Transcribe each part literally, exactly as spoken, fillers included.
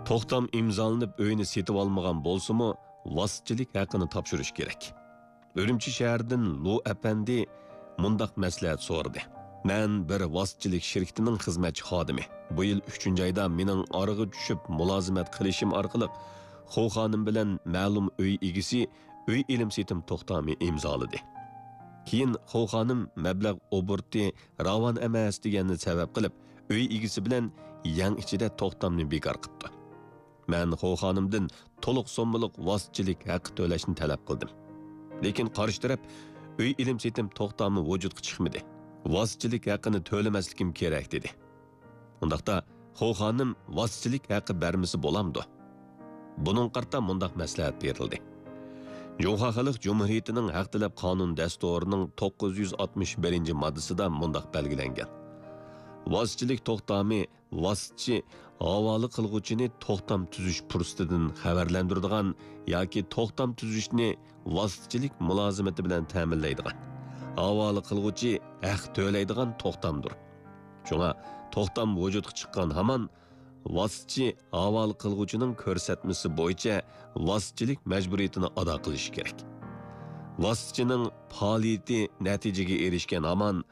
توختام ئىمزالىنىپ ئۆينى سېتىۋالمىغان بولسىمۇ، ۋاسىتىچىلىك ھەققىنى تاپشۇرۇش كېرەك. ئۈرۈمچى شەھىرىدىن لۇ ئەپەندى مۇنداق مەسلىھەت سورىدى: مەن بىر ۋاسىتىچىلىك شىركىتىنىڭ خىزمەتچى خادىمى. بۇ يىل ئۈچىنچى ئايدا مېنىڭ ئارىغا چۈشۈپ مۇلازىمەت قىلىشىم ئارقىلىق خو خانىم بىلەن مەلۇم ئۆي ئىگىسى ئۆي ئېلىم سېتىم توختامى ئىمزالىدى. كېيىن خو خانىم مەبلەغ ئوبوروتى راۋان ئەمەس دېگەننى سەۋەب قىلىپ، ئۆي ئىگىسى بىلەن يەڭ ئىچىدە توختامنى بىكار قىپتۇ. مەن خو خانىمدىن تولۇق سوممىلىق ۋاسىتىچىلىك ھەققى تۆلەشنى تەلەپ قىلدىم. لېكىن قارشى تەرەپ ئۆي ئېلىم سېتىم توختامى ۋۇجۇدقا چىقمىدى. ۋاسىتىچىلىك ھەققىنى تۆلىمەسلىكىم كېرەك دېدى. ئۇنداقتا خو خانىم ۋاسىتىچىلىك ھەققى بەرمىسە بولامدۇ؟ بۇنىڭغا قارىتا مۇنداق مەسلىھەت بېرىلدى. جۇڭخۇا خەلق جۇمھۇرىيىتىنىڭ ھەق تەلەپ قانۇن دەستۇرىنىڭ توققۇز يۈز ئاتمىش بىرىنچى ماددىسىدا مۇنداق بەلگىلەنگەن: ۋاسىتىچىلىك توختامى ۋاسىتىچى ھاۋالە قىلغۇچىنى توختام تۈزۈش پۇرسىتىدىن خەۋەرلەندۈرىدىغان ياكى توختام تۈزۈشنى ۋاسىتىچىلىك مۇلازىمىتى بىلەن تەمىنلەيدىغان، ھاۋالە قىلغۇچى ھەق تۆلەيدىغان توختامدۇر. شۇڭا توختام ۋۇجۇدقا چىققان ھامان ۋاسىتىچى ھاۋالە قىلغۇچىنىڭ كۆرسەتمىسى بويىچە ۋاسىتىچىلىك مەجبۇرىيىتىنى ئادا قىلىشى كېرەك. ۋاسىتىچىنىڭ پائالىيىتى نەتىجىگە ئېرىشكەن ھامان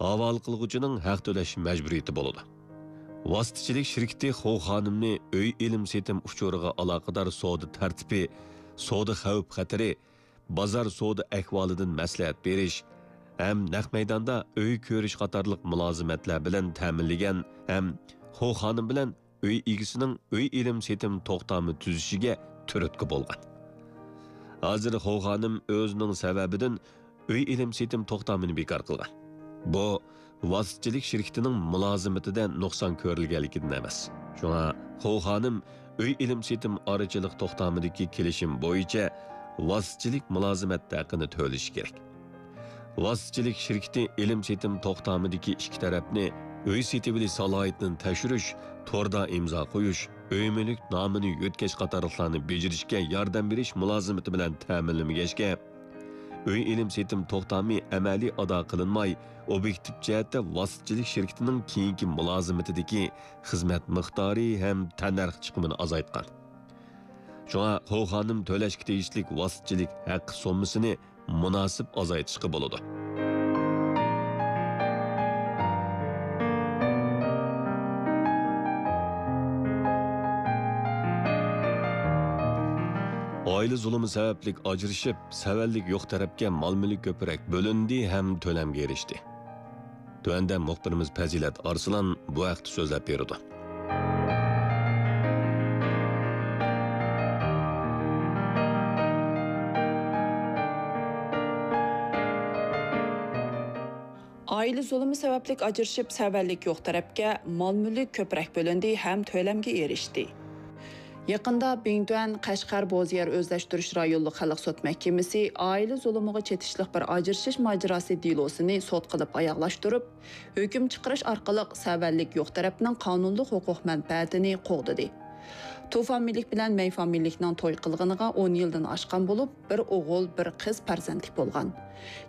ھاۋالە قىلغۇچىنىڭ ھەق تۆلەش مەجبۇرىيىتى بولىدۇ. ۋاسىتىچىلىك شىركىتى خو خانىمنى ئۆي ئېلىم سېتىم ئۇچۇرىغا ئالاقىدار سودا تەرتىپى، سودا خەۋپ خەتىرى، بازار سودا ئەھۋالىدىن مەسلىھەت بېرىش ھەم نەق مەيداندا ئۆي كۆرۈش قاتارلىق مۇلازىمەتلەر بىلەن تەمىنلىگەن ھەم خو خانىم بىلەن ئۆي ئىگىسىنىڭ ئۆي ئېلىم سېتىم توختامى تۈزۈشىگە تۈرتكە بولغان. ھازىر خو خانىم ئۆزىنىڭ سەۋەبىدىن ئۆي ئېلىم سېتىم توختامىنى بىكار قىلغان. بۇ ۋاسىتىچىلىك شىركىتىنىڭ مۇلازىمىتىدە نۇقسان كۆرۈلگەنلىكىدىن ئەمەس. شۇڭا خو خانىم ئۆي ئېلىم سېتىم ئارىچىلىق توختامىدىكى كېلىشىم بويىچە ۋاسىتىچىلىك مۇلازىمەت ھەققىنى تۆلىشى كېرەك. ۋاسىتىچىلىك شىركىتى ئېلىم سېتىم توختامىدىكى ئىككى تەرەپنى ئۆي سېتىۋېلىش سالاھىيىتىنى تەكشۈرۈش، توردا ئىمزا قويۇش، ئۆي مۈلۈك نامىنى يۆتكەش قاتارلىقلارنى بېجىرىشكە ياردەم بېرىش مۇلازىمىتى بىلەن تەمىنلىمىگەچكە، ئۆي ئېلىم سېتىم توختامى ئەمەلىي ئادا قىلىنماي، ئوبيېكتىپ جەھەتتە ۋاسىتىچىلىك شىركىتىنىڭ كېيىنكى مۇلازىمىتىدىكى خىزمەت مىقدارى ھەم تەننەرخ چىقىمىنى ئازايتقان. شۇڭا خو خانىم تۆلەشكە تېگىشلىك ۋاسىتىچىلىك ھەققى سوممىسىنى مۇناسىپ ئازايتىشقا بولىدۇ. ئائىلە زۇلۇمى سەۋەبلىك ئاجرىشىپ، سەۋەنلىك يوق تەرەپكە مال-مۈلۈك كۆپرەك بۆلۈندى ھەم تۆلەمگە ئېرىشتى. تۆۋەندە مۇخبىرىمىز پەزىلەت ئارسلان بۇ ھەقتە سۆزلەپ بېرىدۇ. ئائىلە زۇلۇمى سەۋەبلىك ئاجرىشىپ، سەۋەنلىك يوق تەرەپكە مال-مۈلۈك كۆپرەك بۆلۈندى ھەم تۆلەمگە ئېرىشتى. يېقىندا بىڭتۈەن قەشقەر بوزيەر ئۆزلەشتۈرۈش رايونلۇق خەلق سوت مەھكىمىسى ئائىلە زۇلۇمىغا چېتىشلىق بىر ئاجرىشىش ماجىراسى دېلوسىنى سوت قىلىپ ئاياغلاشتۇرۇپ، ھۆكۈم چىقىرىش ئارقىلىق سەۋەنلىك يوق تەرەپنىڭ قانۇنلۇق ھوقۇق مەنپەئەتىنى قوغدىدى. تۇ فامىلىلىك بىلەن مەي فامىلىلىكنىڭ توي قىلغىنىغا ئون يىلدىن ئاشقان بولۇپ، بىر ئوغۇل، بىر قىز پەرزەنتلىك بولغان.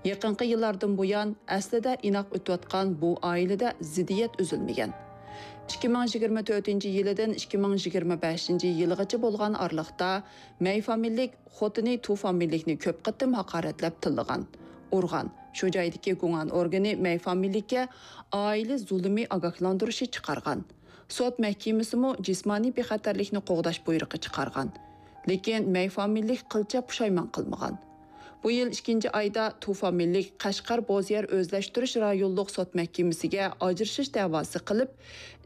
يېقىنقى يىللاردىن بۇيان، ئەسلىدە ئىناق ئۆتۈۋاتقان بۇ ئائىلىدە زىددىيەت ئۈزۈلمىگەن. ئىككى مىڭ يىگىرمە تۆتىنچى يىلىدىن ئىككى مىڭ يىگىرمە بەشىنچى يىلىغىچە بولغان ئارىلىقتا، مەي فامىلىلىك خوتۇنى تۇ فامىلىلىكنى كۆپ قېتىم ھاقارەتلەپ تىللىغان، ئۇرغان. شۇ جايدىكى گۇڭئەن ئورگىنى مەي فامىلىلىككە ئائىلە زۇلۇمى ئاگاھلاندۇرۇشى چىقارغان. سوت مەھكىمىسىمۇ جىسمانىي بىخەتەرلىكنى قوغداش بۇيرۇقى چىقارغان. لېكىن مەي فامىلىلىك قىلچە پۇشايمان قىلمىغان. بۇ يىل ئىككىنچى ئايدا تۇ فامىلىلىك قەشقەر بوزيەر ئۆزلەشتۈرۈش رايونلۇق سوت مەھكىمىسىگە ئاجرىشىش دەۋاسى قىلىپ،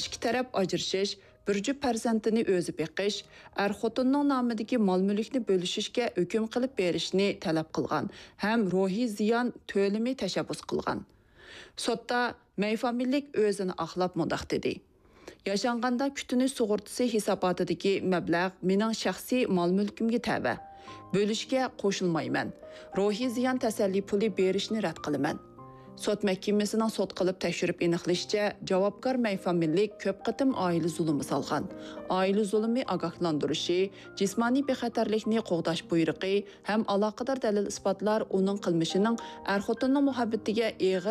ئىككى تەرەپ ئاجرىشىش، بىر جۈپ پەرزەنتىنى ئۆزى بېقىش، ئەر-خوتۇننىڭ نامىدىكى مال-مۈلۈكنى بۆلۈشۈشكە ھۆكۈم قىلىپ بېرىشنى تەلەپ قىلغان ھەم روھىي زىيان تۆلىمى تەشەببۇس قىلغان. سوتتا مەي فامىلىلىك ئۆزىنى ئاقلاپ مۇنداق دېدى: ياشانغاندا كۈتۈنۈش سۇغۇرتىسى ھېساباتىدىكى مەبلەغ مېنىڭ شەخسىي مال-مۈلكۈمگە تەۋە. بۆلۈشكە قوشۇلمايمەن. روھىي زىيان تەسەللى پۇلى بېرىشنى رەت قىلىمەن. سوت مەھكىمىسىنىڭ سوت قىلىپ تەكشۈرۈپ ئېنىقلىشىچە، جاۋابكار مەي فامىلىلىك كۆپ قېتىم ئائىلە زۇلۇمى سالغان. ئائىلە زۇلۇمى ئاگاھلاندۇرۇشى، جىسمانىي بىخەتەرلىكنى قوغداش بۇيرۇقى ھەم ئالاقىدار دەلىل-ئىسپاتلار ئۇنىڭ قىلمىشىنىڭ ئەر-خوتۇننىڭ مۇھەببىتىگە ئېغىر